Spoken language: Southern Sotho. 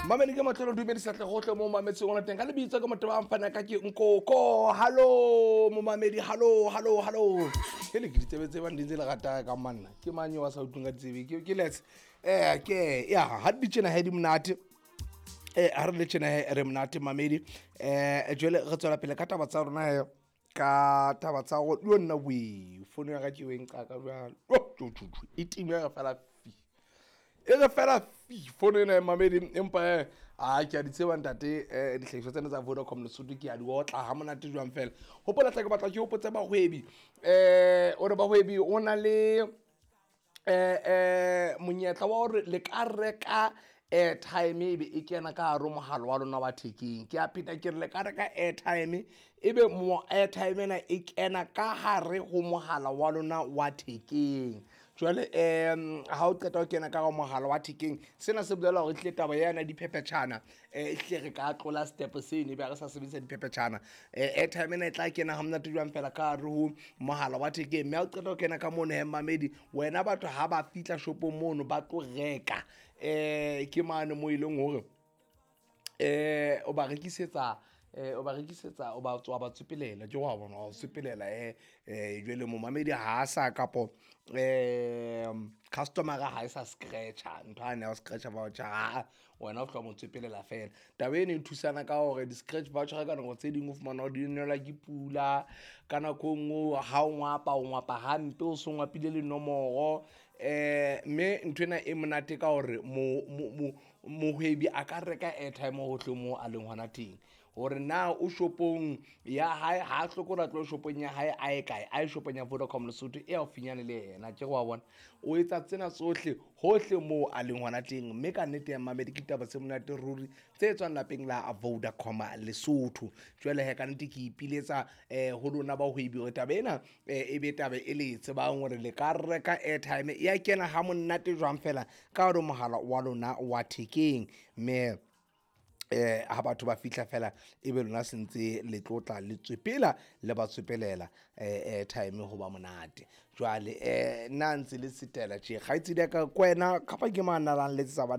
Mamedi ke matlholo dumedisa tle gotlhe mo mametseng ona teng ka lebitso ke motho ba mfana ka ke nkoko. Hallo momamedi, hallo hallo hallo. Ke le ke ditsebe tse bang di ntse le rata ka manna ke mang eo a sa utlweng ka ditsebe ke lets ke ya ha di tjena he di monate. Ha re le tjena he re monate mamedi. Jwale re tswela pele ka taba tsa rona he, ka taba tsa go yo nna we fono ya ka ke e nqaka jwalo. Oh, tjo, tjo, tjo, e time re fela fi. E re fela fi fono ena ya mamedi, empa a ke a di tseba ntate, dihlahiswa tsena tsa Vodacom Lesotho ke a di otla ha monate jwang fela. Hopola hle ke batla ke hopotse bahwebi, ore bahwebi o na le monyetla wa hore le ka reka airtime ebe e kena ka hare ho mohala wa lona wa thekeng. Ke a pheta ke re le ka reka airtime ebe mo airtime ena e kena ka hare ho mohala wa lona wa thekeng. Jwale ha o qeta ho kena ka hare ho mohala wa thekeng, sena se bolela hore ehlile taba yana diphephetjhana, ehlile re ka tlola step seno ebe ha re sa sebedisa diphephetjhana. Airtime ena e tla kena ha monate jwang fela ka hare ho mohala wa thekeng. Mme ha o qeta ho kena ka mono he mamedi, wena batho ha ba fihla shopong mono ba tlo reka, ke mane mo e leng hore o ba rekisetsa, o ba rekisetsa, o ba tswa ba tsepelela, ke wa bona, wa tsepelela, jwale momamedi ha a sa kapo, customer ha e sa scratch-a ntho ane ya ho scratch-a voucher, ha wena o tloha mo tsepelela fela. Taba eno e thusana ka hore di-scratch voucher ka nako tse ding o fumana hore di nelwa ke pula, ka nako e nngwe ha o ngwapa o ngwapa hampe, o so ngwapile le nomoro. Mme nthwena e monate ka hore mohwebi a ka reka airtime hohle moo a leng hona teng. Hore na o shopong ya hae, ha a hloke hore a tlohe shopong ya hae a ye kae, a ye shopong ya Vodacom Lesotho e haufinyane le yena. Ke re wa bona, o etsa tsena tsohle hohle moo a leng hona teng. Mme ka nnete ya mamedi ke ditaba tse monate ruri tse tswang lapeng la Vodacom Lesotho. Jwale he ka nnete ke ipiletsa ho lona bahwebi hore taba ena e be taba e le tsebang hore le ka reka airtime ya kena ha monate jwang fela ka hare ho mohala wa lona wa thekeng. Mme ha batho ba fihla fela ebe lona sentse le tlotla le tswepela le ba tswepelela airtime ho ba monate. Jwale nna ntse le setela tje kgaitsedi ya ka ke wena kapa ke mang a nang letsetsa banna.